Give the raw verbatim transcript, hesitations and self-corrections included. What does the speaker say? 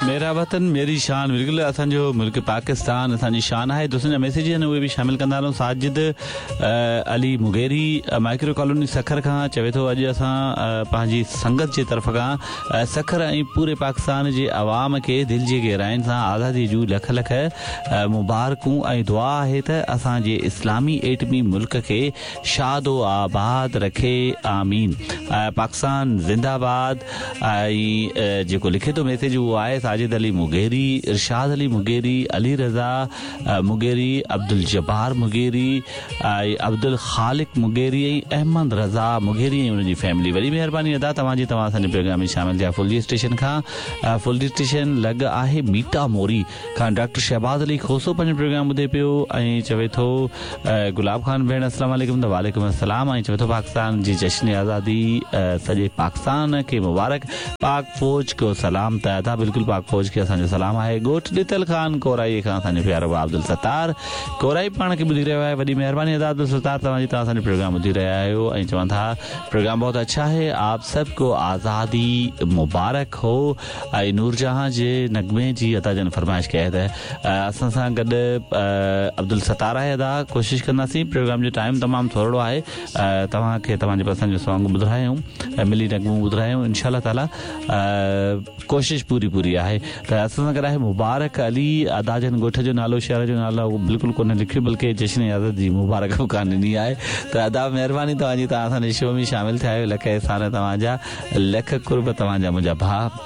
ميرا وطن ميري شان. بلڪل، اسان جو ملڪ پاڪستان اسان جي شان آهي. دوستن جا ميسيج آهن، اهي به شامل ڪندا هلون. ساجد علي مغيري مائڪرو ڪالوني سکر کان چوي ٿو، اڄ اسان پنهنجي سنگت جي طرف کان سکر ۽ پوري پاڪستان جي عوام کي دل جي گهراين سان آزادي جون لک لک مبارڪون ۽ دعا آهي ته اسان جي اسلامي ايٽمي ملڪ کي شاد و آباد رکي، آمين، پاڪستان زنده باد. ۽ جيڪو لکي ٿو ميسيج اهو آهي ساجد علي مغيري، ارشاد علي مغيري، علي رضا مغيري، عبدالجبار مغيري ۽ عبدالخالق مغيري ۽ احمد رضا مغيري ۽ ان جي فيملي. وڏي مهرباني ادا توهان جي، توهان اسان جي پروگرام ۾ شامل ٿيا. ڦلجي اسٽيشن کان، ڦلجي اسٽيشن لڳ آهي ميٽا موري کان ڊاڪٽر شهباز علي کوسو پنهنجو پروگرام ٻڌي پيو ۽ چوي ٿو، گلاب خان ڀيڻ السلام عليڪم. ته وعليڪم السلام. ۽ چوي ٿو، پاڪستان جي جشن آزادي سڄي پاڪستان کي مبارڪ، پاڪ فوج کو سلام. ته ادا بلڪل، پاڪ فوج کي اسان جو سلام آهي. ڳوٺ ڏتل خان ڪورائي کان اسان جو پيارو عبدل ستار ڪورائي پاڻ کي ٻڌي رهيو آهي. وڏي مهرباني ادا عبدل ستار توهان جي، توهان اسان جو پروگرام ٻڌي رهيا آهيو ۽ چون ٿا، پروگرام بهت اڇا هي، آپ سب کو آزادي مبارڪ هو. ۽ نورجهان جي نغمي جي ادا جن فرمائش ڪئي آهي. ته اسان سان گڏ عبدل ستار آهي. ادا ڪوشش ڪنداسين، پروگرام جو ٽائيم تمام ٿورڙو آهي، توهان کي توهان جي پسند جو سانگ ٻڌايون، ملي نغمو ٻڌايون، انشاء الله تعاليٰ ڪوشش پوري پوري آهي. ته اسان سان گڏ آهي مبارڪ علي. ادا جن ڳوٺ جو نالو، شهر جو نالو بلڪل ڪونه لکيو، بلڪه جشن آزادي جي مبارڪ به ڪانه ڏني آهي. ته ادا مهرباني توهان جي، توهان اسان جي شو ۾ شامل ٿيا آهيو. لک احسان توهان جا، لک قرب توهان جا منهنجا ڀاءُ.